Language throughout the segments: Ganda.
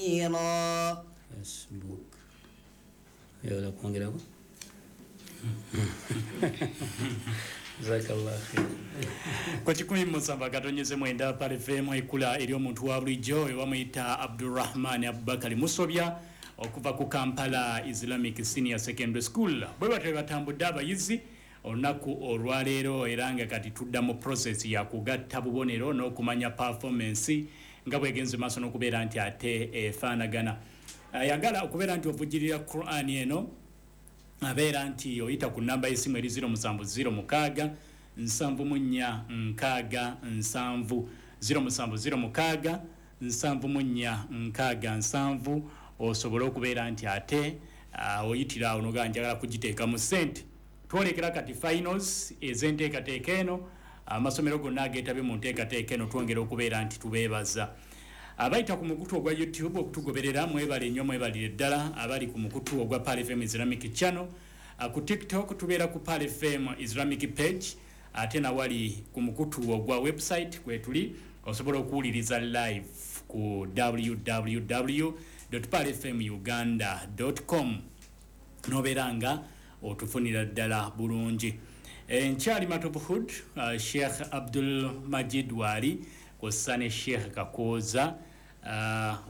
كثيرا. Facebook oyagala kwongerako? Jazakallah khair. Ku 107.9 Pal FM, ekula eri omuntu wa bulijjo, we bamuyita Abdurrahman Abubakari Musobya okuva ku Kampala Islamic Senior Secondary School. Bwe batyo batambudde abayizi olunaku olwaleero, era nga kati tudda mu process ya kugatta bubonero n'okumanya performance nga bwegenze maaso n'okubeera nti ate efaanagana. Ayagala okubeera nti ovujjirira Quran eno, abeera nti oyita ku namba y'essimu eri 0706 74 60 7, 0706 74 60 7, osobole okubeera nti ate oyitira awo nogaa njagala kugiteeka mu ssente. Twolekera kati finals ez'enteekateeka eno. Amasomero gonna ageetabye mu nteekateeka eno twongera okubeera nti tubeebaza. Abayita ku mukutu ogwa YouTube okutugoberera, mwebale nnyo, mwebalire ddala. Abali ku mukutu ogwa Pal FM Islamic Channel, ku TikTok tubeera ku Pal FM Islamic page, ate nawali ku mukutu ogwa website kwetuli, osobola okuwuliriza live ku www palfmuganda com, nobeera nga otufunira ddala bulungi. Nkyali Matovu Hood, Sheikh Abdul Majid waali, kwossa ne Sheikh Kakooza,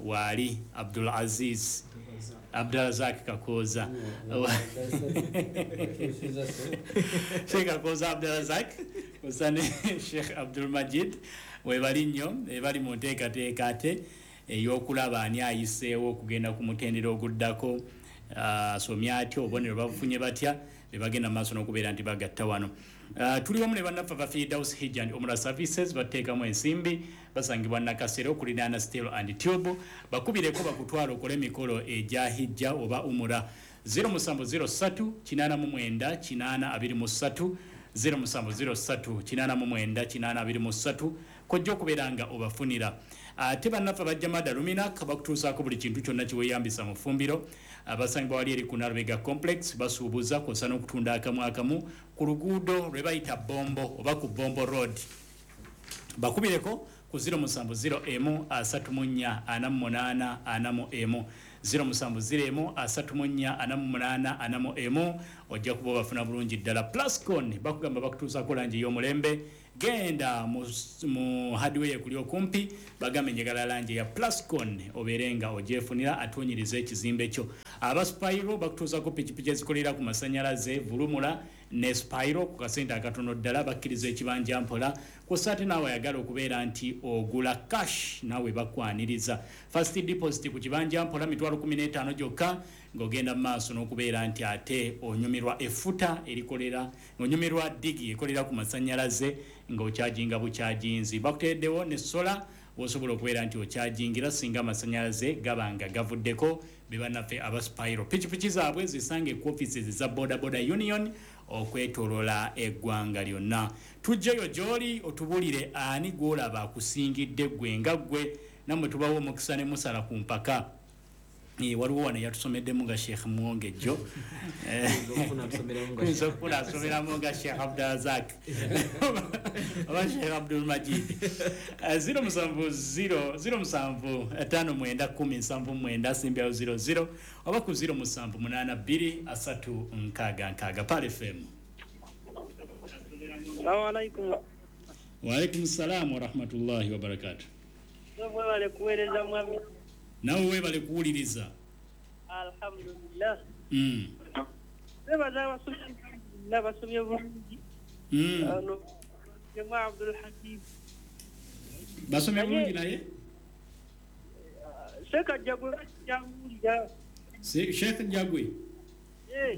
waali Abdul Aziz Abdulrazak Kakooza, Sheikh Kakooza Abdulrazak kwossa ne Sheikh Abdul Majid webali nnyo, ebali mu nteekateeka ate ey'okulaba ani ayiseewo okugenda ku mutendera oguddako, asomye atya, obubonero babufunye batya, bebagenda mu maaso n'okubeera nti bagatta wano. Tuli wamu ne bannaffe aba Firdaus Hijj and Umrah Services, bateekamu ensimbi, basangibwa Nakasero okuliraana Steel and Tube. Bakubireko bakutwala okole emikolo egya hijja oba umura, 0703 89 823, 0703 89 823, kojja okubeera nga obafunira. Ate bannaffe abajja Mada Luminak bakutuusaako buli kintu kyonna kiweeyambisa mu ffumbiro. Abasangibwa wali eri ku Nalubega Complex, basuubuza kwossa n'okutunda akamu akamu ku luguudo lwe bayita Bombo oba ku Bombo Road. Bakubireko ku 0701 34 48 41, 0701 34 48 41, ojja kuba obafuna bulungi ddala. Plascon bakugamba bakutuusaako langi ey'omulembe. Genda mu hardware kuli okumpi, bagambe njagala langi ya Plascon, obeere nga ogyefunira atunyiriza ekizimbe kyo. Aba Spiro bakutuusaako pikipiki ezikolera ku masanyalaze, vulumula ne Spiro ku kasente akatono ddala, bakkiriza ekibanja mpola. Kwossa ate naawe ayagala okubeera nti ogula cash, naawe bakwaniriza. First deposit ku kibanja mpola 15,000 gyokka, ng'ogenda mu maaso n'okubeera nti ate onyumirwa effuta erikolera, ng'onyumirwa digi ekolera ku masanyalaze, ng'okyajinga bukyajinzi. Bakuteereddewo ne sola wosobola okubeera nti okyajingira singa amasanyalaze gaba nga gavuddeko. Be bannaffe aba Spiro. Pikipiki zaabwe zisange ku offices za Boda Boda Union okwetolola eggwanga lyonna. Tujjeyo gy'oli otubuulire ani gw'olaba akusingidde ggwe nga ggwe, nammwe tubawo omukisa ne musala ku mpaka. Waliwo wano yatusomeddemu nga Sheikh Mwongejjo, tuyinza okufuna asomeramu nga Sheikh Abdulrazak oba Sheikh Abdul Majid. 070 0759 10 79 simbyawo 00 oba ku 0782 3 6 6. Pal FM. Salamu alaikum. Waalaikum salamu warahmatullahi wabarakatu. Mwebale kuweereza mwami. Nawe weebale kuwuliriza. Alhamdulillah. Twebaza abasomye, alhamdulillah basomye bulungi. Ano Jama Abdul Hakim. Basomye bulungi naye? Sheikh Jagwe jamuwulira. Sheikh Jagwe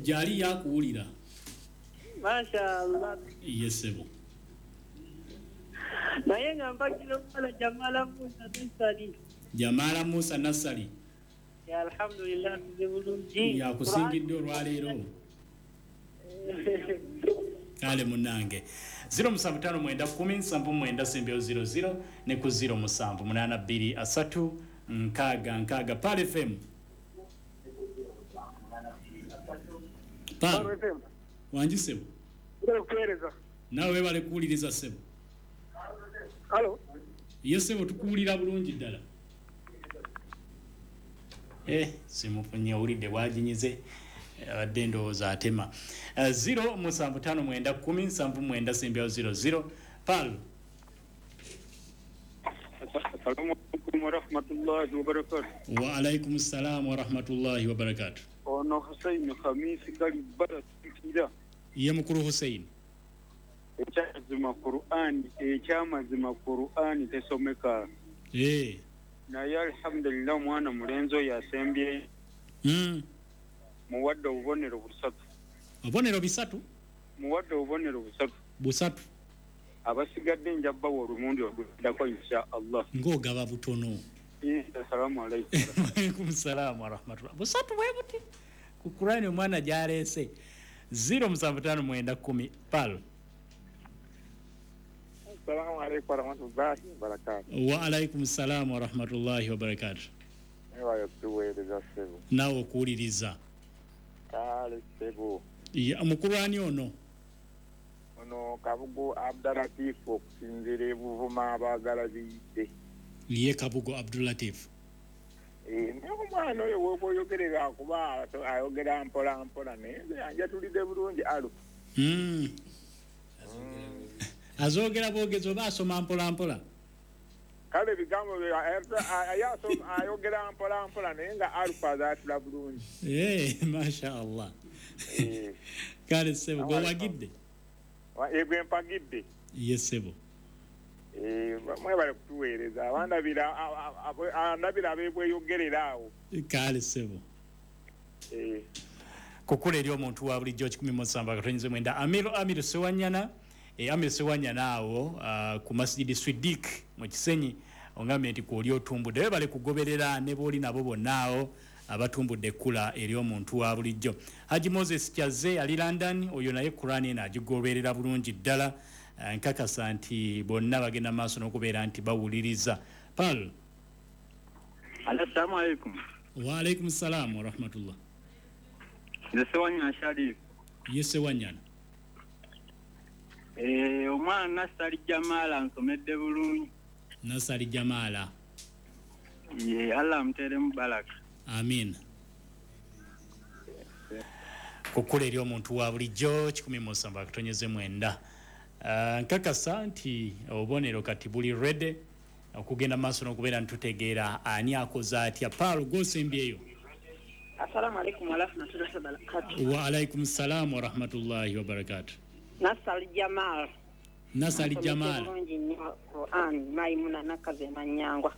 gyali yakuwulira. Masha Allah. Yesebo. Naye nga mpagira omuwala Jamala Musa Nassali. Jamala Musa Nassali. Ya alhamdulillah tuze bulungi. Yakusingidde olwaleero. Kale munnange. 0759 10 79 sembyo 00 ne ku 0782 3 6 6. Pal FM. Pal FM. Wangi ssebo. Kuweereza. Nawe weebale kuwuliriza ssebo. Halo. Ye ssebo, tukuwulira bulungi ddala. Simufunye, owulidde bwaginyize, abadde ndowooza atema. 0 7 5 9 10 7 9 sembyawo 00. Pal. Assalamu alaikum warahmatullahi wabarakatuh. Wa alaikum salam warahmatullahi wabarakatuh. Ono Hussein Khamisi Kalibara Kira. Ye mukulu Hussein. Ekyamazima Qur'an, ekyamazima Qur'an tesomeka. Naye alhamdulillah mwana mulenzi oyo asembye. Muwadde obubonero busatu. Obubonero bisatu? Muwadde obubonero busatu. Busatu. Abasigadde nja bbawa olumundi oluddako insha Allah. Ng'ogaba butono. Assalamu alaikum. Wa alaikum salam wa rahmatullah. Busatu bwe buti. Ku Qur'ani omwana gy'aleese. 0 7 5 9 10 pal. Assalamu alaikum wa rahmatullahi wa barakatuh. Wa alaikum salam wa rahmatullahi wa barakatuh. Ewayo tuweereza ssebo. Naawe okuwuliriza. Kale ssebo. Mukulu ani ono? Ono Kabugo Abdulatif okusinziira e Buvuma abaagala biyidde. Ye Kabugo Abdulatif. Naye omwana oyo w'oba oyogerera kuba ayogera mpola mpola naye nze anjatulidde bulungi alu. Azoogera bwogezi oba asoma mpola mpola? Kale ebigambo ayogera mpola mpola naye nga alufu azaatula bulungi. Masha Allah. Kale ssebo gwewagidde? Gwe mpagidde. Ye ssebo. Mwebale kutuweereza andabira ab'ebweyogerera awo. Kale ssebo. Kukula eri omuntu wa bulijjo 17.9 Amiru Sewanyana. Amir Sewanyana awo ku Masjidi Swidik mu Kisenyi ongambye nti kwoli otumbudde webale kugoberera ne booli nabo bonna awo abatumbudde ekkula eri omuntu wa bulijjo. Haji Moses Kyaze ali London, oyo naye Qur'ani eno agigoberera bulungi ddala. Nkakasa nti bonna bagenda maaso n'okubeera nti bawuliriza. Pal. Assalamu alaikum. Wa alaikum salam wa rahmatullah. Nze Sewanyana Sharif. Ye Sewanyana. Omwana Nasali Jamala nsomedde bulungi. Nasali Jamala. Ye Allah amuteeremu baraka. Amin. Kukula eri omuntu wa bulijjo 17.9. Nkakasa nti obubonero kati buli ready okugenda maaso n'okubeera ntutegeera ani akoze atya. Paul gw'osembyeyo. Assalamu alaikum wa rahmatullahi wa barakatuh. Wa alaikum salam wa rahmatullahi wa barakatuh. Nasali Jamal. Nasali Jamal. Qur'an Maimuna nakaze manyangwa.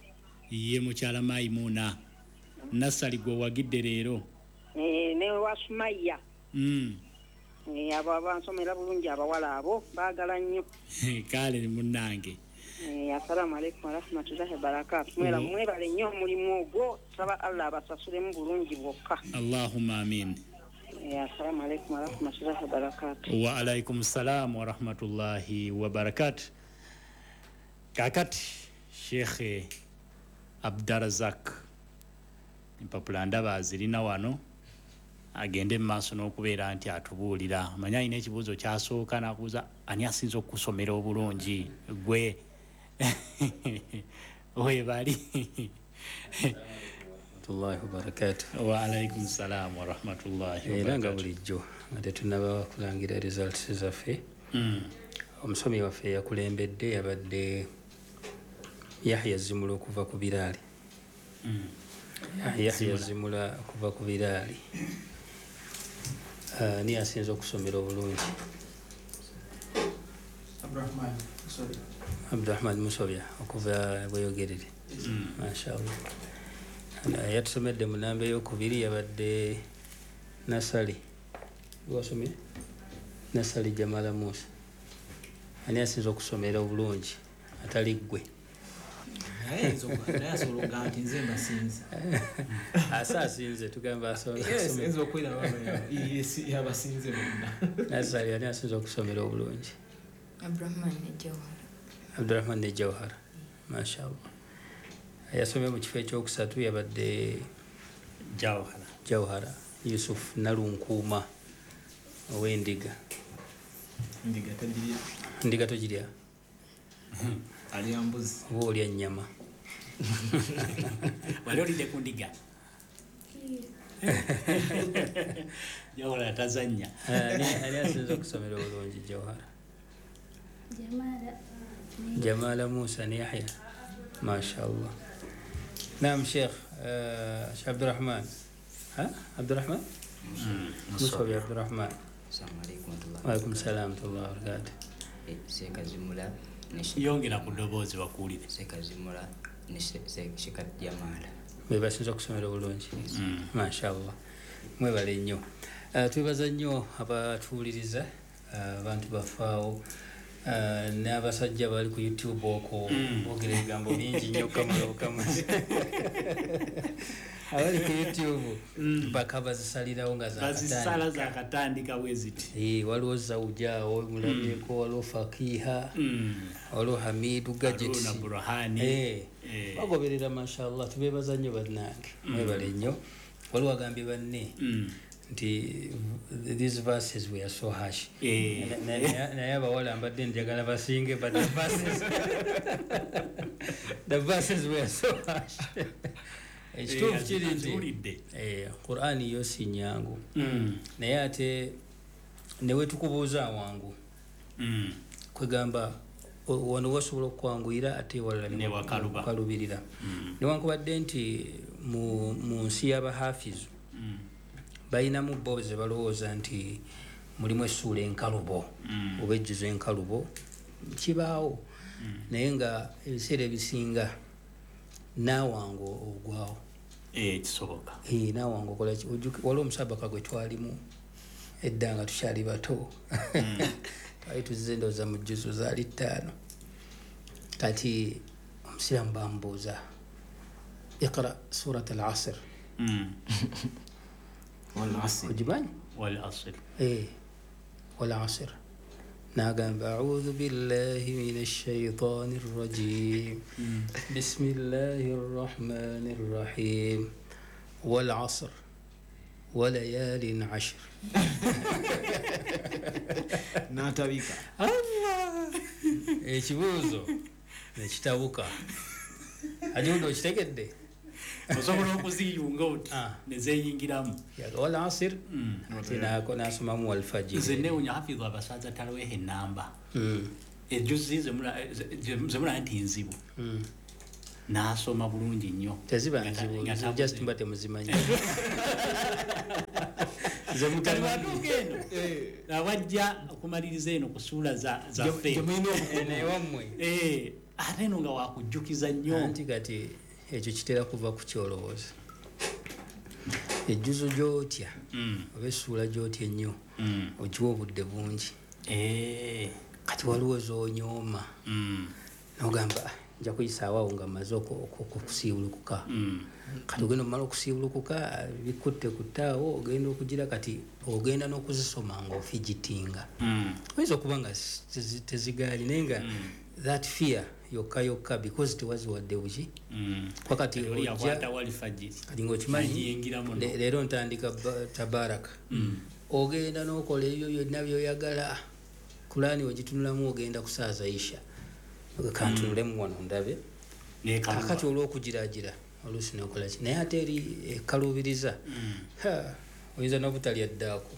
Ye mukyala Maimuna. Nasali gwe wagidde leero. Ne wa Sumaya. Abo abansomera bulungi abawala abo baagala nnyo. Kale munnange. Assalamu alaikum wa rahmatullahi wa barakatuh. Mwebale nnyo omulimu ogwo, saba Allah abasasulemu bulungi bwokka. Allahumma amin. Assalamu alaikum wa rahmatullahi wa barakatuh. Wa alaikum salam wa rahmatullahi wa barakatuh. Kakati Sheikh Abdarazak empapula ndaba zirina wano agende mu maaso n'okubeera nti atubuulira. Manya alina ekibuuzo kyasooka n'akubuuza ani asinza okusomera obulungi gwe webali. Warahmatullahi wabarakatuh. Wa alaikum salam wa rahmatullahi wabarakatuh. Era nga bulijjo ate tunaba kulangira results zaffe. Omusomi waffe yakulembedde yabadde Yahya Zimula okuva ku Biraali. Yahya Zimula okuva ku Biraali. Ni asinza okusomera obulungi? Abdurrahman Musobya okuva Bweyogerere. Mashallah. Yatusomedde mu namba ey'okubiri yabadde Nasali. Gwasomye? Nasali Jamala Musa. Ani asinza okusomera obulungi atali ggwe? Naye asobola okugamba nti nze mbasinze. Asa asinze tugamba asobola. Yes, nze okwera yabasinze bonna. Nasali ani asinza okusomera obulungi? Abdurrahman ne Jawhara. Abdurrahman ne Jawhara. Mashallah. Yasomye mu kifo ekyokusatu yabadde Jawhara. Jawhara Yusuf Nalunkuuma ow'endiga. Ndiga tagirya. Ndiga togirya? Alya mbuzi. Oba olya nnyama. Wali olidde ku ndiga? Jawhara tazannya. Ani asinze okusomera obulungi Jawhara? Jamala Musa ne Yahya. Mashallah. Naam Sheikh, Sheikh Abdurrahman. Ha? Abdurrahman? Musa Abdurrahman. Assalamu alaikum warahmatullahi. Wa alaikum salam warahmatullahi wabarakatuh. Sekazimula ne yongera ku ddoboozi bakuwulire. Sekazimula ne Sheikh Jamala. Be basinze okusomera obulungi. Mashallah. Mwebale nnyo. Twebaza nnyo abatuwuliriza, abantu bafaawo, n'abasajja bali ku YouTube okwo boogera ebigambo bingi nnyo kamala. Abali ku YouTube mpaka bazisalirawo nga bazisala zakatandika bwe ziti. Waliwo Zawuja awo mulabyeko, waliwo Fakiha, waliwo Hamidu Gadgets, Haruna Burhani. Bagoberera mashallah, tubebaza nnyo bannange. Mwebale nnyo. Waliwo agambye banne nti these verses were so harsh. Naye abawala mbadde njagala basinge, but the verses were so harsh. Ekituufu kiri nti Qur'ani yo si nyangu, naye ate newe tukubuuza awangu, kwegamba wano wasobola okwanguyira ate walala newakaluubirira. Newankubadde nti mu nsi y'abahafizu balinamu bo ze balowooza nti mulimu essuula enkalubo oba ejjuzo enkalubo, kibaawo, naye nga ebiseera ebisinga naawangu ogwawo. Kisoboka. Naawangu okola ki? Waliwo omusabaka gwe twalimu edda nga tukyali bato, twali tuzze ndowooza mu jjuzo zaali 5. Kati omusiraamu bamubuuza iqra surat al-asr. Wal-asr. Ogimanyi? Wal-asr. Wal-asr. Nagamba a'udhu billahi minash shaitanir rajim. Bismillahir rahmanir rahim. Wal asr wa layalin ashr. N'atabika. Allah! Ekibuuzo nekitabuka. Ajundo okitegedde? Osobola okuziyunga oti ne zeeyingiramu. Wal asr ate n'asomamu wal fajr. Nze neewuunya Hafidh abasaaza talaweeho ennamba. Ejjuzi zemulaba nti nzibu. N'asoma bulungi nnyo. Teziba nzibu, just mba temuzimanyi. Kati watuuka eno awajja okumaliriza eno ku ssuula zaffe ewammwe. Ate eno nga wakujjukiza nnyo. Anti kati ekyo kitera kuva ku kyolowooza. Ejjuzo gy'otya oba essuula gy'otya ennyo ogiwa obudde bungi. Kati waliwo z'onyooma n'ogamba nja kuyisaawo awo nga mmaze okusiibulukuka. Kati ogenda omala okusiibulukuka bikutte kuttaawo ogenda okugira kati ogenda n'okuzisoma ng'ofigitinga. Oyinza okuba nga tezigaali naye nga that fear yokka yokka because tewaziwadde buki. Wakati ojja kati ng'okimanyi leero ntandika tabaraka, ogenda n'okola ebyo byonna by'oyagala. Kulaani ogitunulamu ogenda kusaaza isha, kantunulemu wano ndabe. Kakati olw'okugiraagira oluusi n'okola ki, naye ate eri ekaluubiriza oyinza n'obutalya ddaako.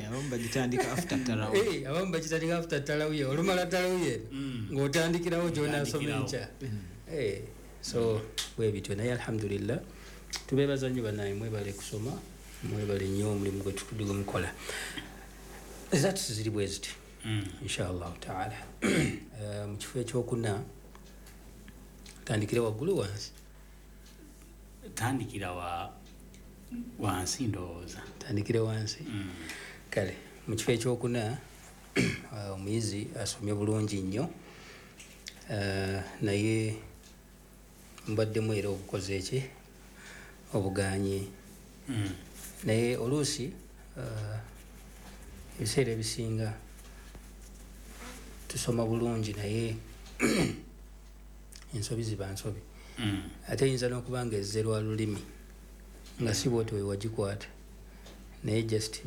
Abamu bagitandika after tarawih. Abamu bagitandika after tarawih, olumala tarawih ng'otandikirawo gy'onaasoma enkya. So bwe bityo, naye alhamdulillah tubeebaza nnyo bannaye, mwebale kusoma, mwebale nnyo omulimu gwe mukola. Results ziri bwe ziti inshallah taala. Mu kifo ekyokuna tandikire waggulu wansi? Tandikira wansi ndowooza. Tandikire wansi. Kale mu kifo ekyokuna omuyizi asomye bulungi nnyo, naye mbaddemu era obukoze eki obuganye. Naye oluusi ebiseera ebisinga tusoma bulungi naye ensobi ziba nsobi. Ate eyinza n'okuba nga ezze lwa lulimi nga si bw'otyo we wagikwata, naye just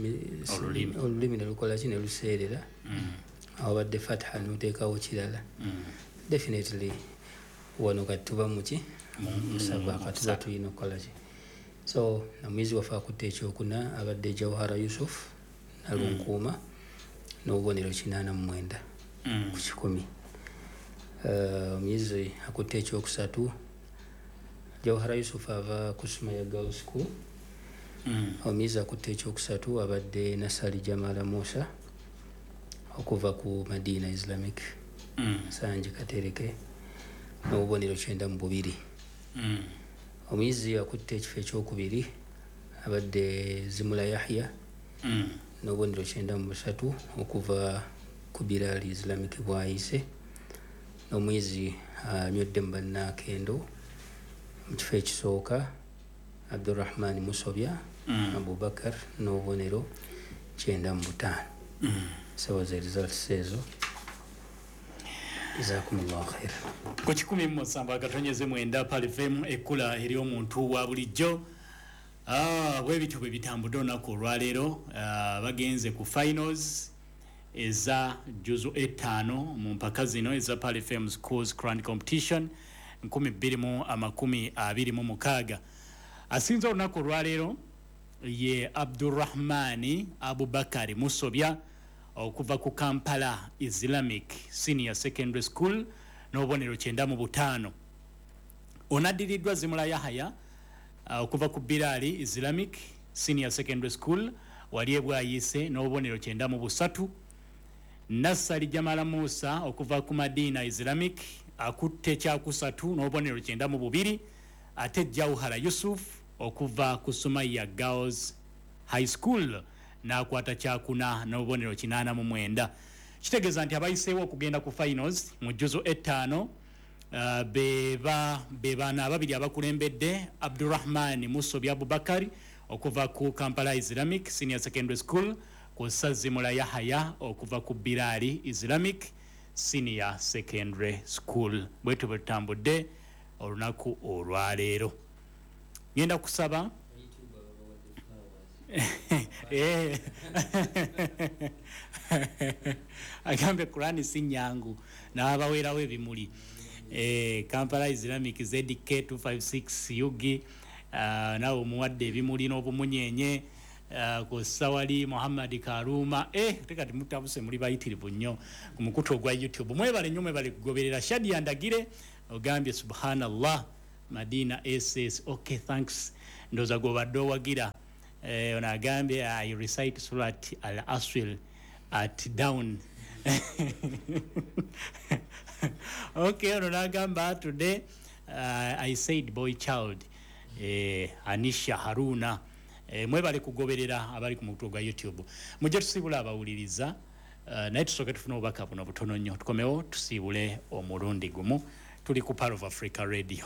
olulimi ne lukola ki ne luseerera, awabadde fatha n'oteekawo kirala. Definitely wano kati tuba muki musabaka, tuba tulina okukola ki. So omuyizi waffe akutte ekyokuna abadde Jawhara Yusuf Nalunkuuma n'obubonero 89 ku 100. Omuyizi akutte ekyokusatu Jawhara Yusuf ava ku Sumaya Girls School. Omuyizi akutte ekyokusatu abadde Nasali Jamala Musa okuva ku Madina Islamic Sanji Katereke n'obubonero 92. Omuyizi akutte ekifo ekyokubiri abadde Zimula Yahya n'obubonero 93 okuva ku Bilal Islamic Bwayise. N'omuyizi anywedde mu bannakendo mu kifo ekisooka Abdurrahman Musobya Abubakar n'obubonero 95. So the results ezo. Jazakumullahu khair. Ku 107.9 Pearl FM ekkula eri omuntu wa bulijjo. Bwe bityo bwe bitambudde olunaku olwaleero. Bagenze ku finals eza juzu 5 mu mpaka zino eza Pearl FM Schools Grand Competition 2026. Asinze olunaku olwaleero ye Abdurrahmani Abubakari Musobya okuva ku Kampala Islamic Senior Secondary School n'obubonero 95. Onaddiriddwa Zimula Yahaya okuva ku Bilali Islamic Senior Secondary School wali ebwayise n'obubonero 93. Nassali Jamala Musa okuva ku Madina Islamic akutte kyakusatu n'obubonero 92. Ate Jawhara Yusuf okuva ku Sumaya Girls High School n'akwata kyakuna n'obubonero 89. Kitegeeza nti abayiseewo okugenda ku finals mu juzu 5 be baana ababiri abakulembedde Abdurrahman Musobi Abubakari okuva ku Kampala Islamic Senior Secondary School ku Zimula Yahaya okuva ku Bilali Islamic Senior Secondary School. Bwetyo bwe tutambudde olunaku olwaleero. Ngenda kusaba agambe Kurani si nyangu n'abaweerawo ebimuli. Kampala Islamic ZK 256 Yugi nawe omuwadde ebimuli n'obumunyenye ku Sawali Muhammad Karuma. Tekati mutabuse muli bayitirivu nnyo ku mukutu ogwa YouTube. Mwebale nnyo, mwebale kugoberera. Shadia Ndagire ogambye subhanallah Madina SS. Okay, thanks. Ndowooza gw'obadde owagira. Ono agambye I recite Surat Al-Asr at down. Okay, ono n'agamba today I said boy child. Anisha Haruna. Mwebale kugoberera abali ku mukutu gwa YouTube. Mujje tusiibule abawuliriza, naye tusooke tufune obubaka buno butono nnyo, tukomewo tusiibule omulundi gumu. Tuli ku Pearl of Africa Radio.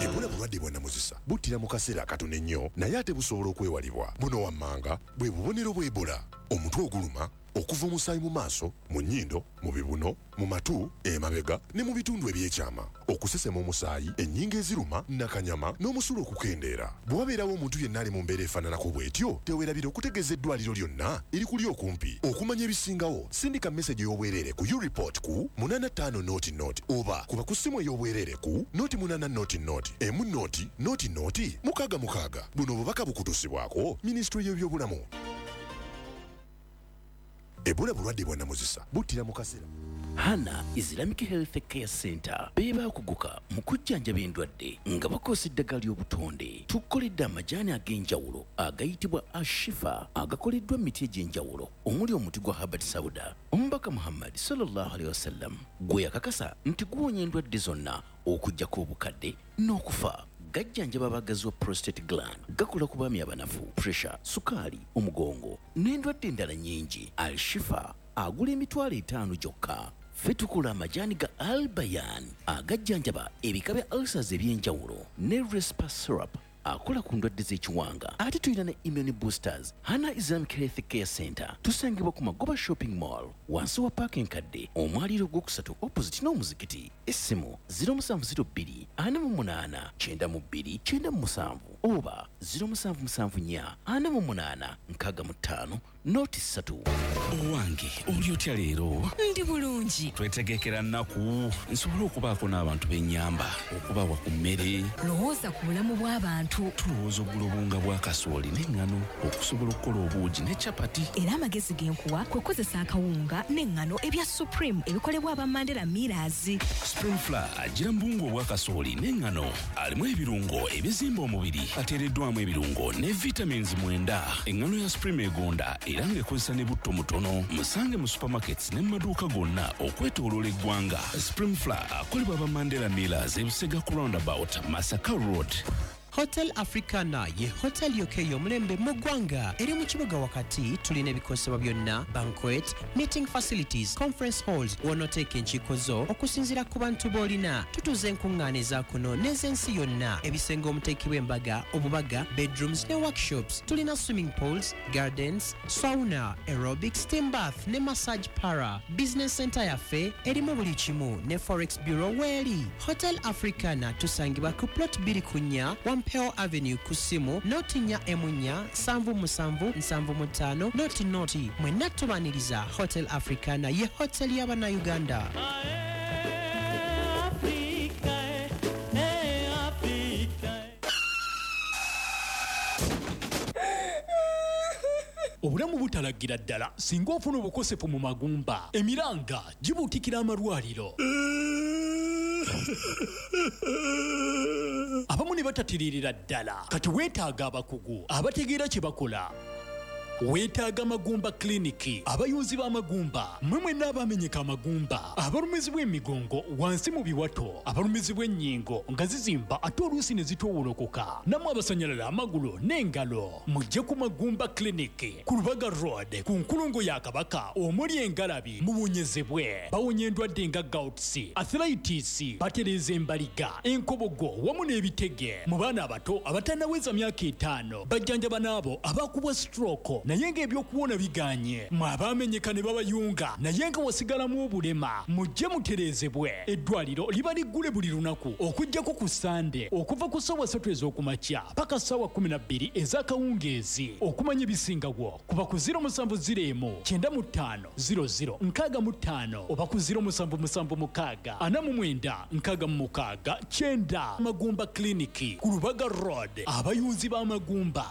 Ebola bulwadde bwa namuzisa, buttira mu kaseera akatono ennyo naye ate busobola okwewalibwa. Buno wammanga bwe bubonero bwa Ebola: omutwe oguluma, okuva omusaayi mu maaso, mu nnyindo, mu bibuno, mu matu, emabega ne mu bitundu ebyekyama, okusesema omusaayi, ennyingo eziruma, nakanyama n'omusulo okukendeera. Bwe wabeerawo omuntu yenna ali mu mbeera efaananako bw'etyo, teweerabira okutegeeza eddwaliro lyonna erikuli okumpi. Okumanya ebisingawo, sindika meseji ey'obwereere ku ureport ku 85 00 oba kuba ku ssimu ey'obwereere ku 08 00 1 0 0 0 66. Buno obubaka bukutuusibwako Minisitule y'ebyobulamu. Ebola bulwadde bwa namuzisa, buttira mu kaseera. Hana Islamic Health Care Center be baakuguka mu kujjanjaba endwadde nga bakozesa eddagala ly'obutonde. Tukoledde amajaani ag'enjawulo agayitibwa Ashifa agakoleddwa mu miti egy'enjawulo omuli omuti gwa Habbat Sauda. Omubaka Muhammad sallallahu alaihi wasallam gwe yakakasa nti guwonya endwadde zonna okuggyako obukadde n'okufa. Gajjanjaba abagazi wa prostate gland, gakola ku baami abanafu, pressure, sukaali, omugongo n'endwadde endala nnyingi. Al-Shifa agula 50,000 gyokka. Ffe tukola amajaani ga Albayan agajjanjaba ebika bya ulcers ebyenjawulo ne Respa syrup akola ku ndwadde z'ekiwanga. Ate tulina ne immune boosters. Hana Islamic Health Care Center tusangibwa ku Magoba Shopping Mall wansi wa paaka enkadde, omwaliiro ogwokusatu opposite n'omuzikiti. Essimu 0702 48 92 97. Oba 0774 48 65 03. Owange, oli otya leero? Ndi bulungi. Twetegekera nnaku nsobole okubaako n'abantu b'ennyamba, okubawa ku mmere. Lowooza ku bulamu bw'abantu. Tulowooza okugula obuwunga bwa kasooli n'eŋŋano okusobola okukola obuugi ne capati. Era amagezi ge nkuwa kwe kukozesa akawunga n'eŋŋano ebya Supreme ebikolebwa aba Mandela Millers. Supreme Flour agira mu buwunga obwa kasooli n'eŋŋano, alimu ebirungo ebizimba omubiri, ateereddwamu ebirungo ne vitamins 9. Eŋŋano ya Supreme egonda era ng'ekozesa ne butto mutono. Musange mu supermarkets ne mu maduuka gonna okwetooloola eggwanga. Supreme Flour akolebwa aba Mandela Millers, Ebusega ku roundabout, Masaka Road. Hotel Africana ye hotel yokka ey'omulembe mu ggwanga, eri mu kibuga wakati. Tulina ebikozesebwa byonna, banquet, meeting facilities, conference halls, w'onooteeka enkiiko zo okusinziira ku bantu b'olina. Tutuuza enkuŋŋaana eza kuno n'ez'ensi yonna, ebisenge omuteekebwa embaga, obubaga, bedrooms ne workshops. Tulina swimming pools, gardens, sauna, aerobics, steam bath ne massage parlour. Business center yaffe erimu buli kimu, ne forex bureau weeri. Hotel Africana tusangibwa ku plot 24 Wampeo Avenue, ku ssimu 044 77 75 00. Mwenna tubaniriza. Hotel Africana ye hotel y'Abannayuganda. Obulamu butalagira ddala singa ofuna obukosefu mu magumba. Emiranga gibuutikira amalwaliro, abamu ne batatiririra ddala. Kati weetaaga abakugu abategeera kye bakola. Weetaaga Magumba Clinic, abayunzi b'amagumba. Mmwe mwenna abamenyeka amagumba, abalumizibwa emigongo wansi mu biwato, abalumizibwa ennyingo nga zizimba ate oluusi ne zitoowolokoka, nammwe abasanyalala amagulu n'engalo, mujje ku Magumba Clinic ku Lubaga Road, ku nkulungo ya Kabaka omuli engalabi, muwonyezebwe. Bawonya endwadde nga gouts, arthritis, batereeza embaliga, enkobogo wamu n'ebitege. Mu baana abato abatannaweza myaka 5, bajjanjaba n'abo abakubwa stroke naye ng'ebyokuwona biganye. Mwe abaamenyeka ne babayunga naye nga wasigalamu obulema, mujje mutereezebwe. Eddwaliro liba liggule buli lunaku okuggyako ku Sande, okuva ku ssaawa 3 ez'okumakya paka ssaawa 12 ez'akawungeezi. Okumanya ebisingawo kuba ku 0701 95 00 65 oba ku 0776 49 66 9. Magumba Clinic ku Lubaga Road, abayunzi b'amagumba.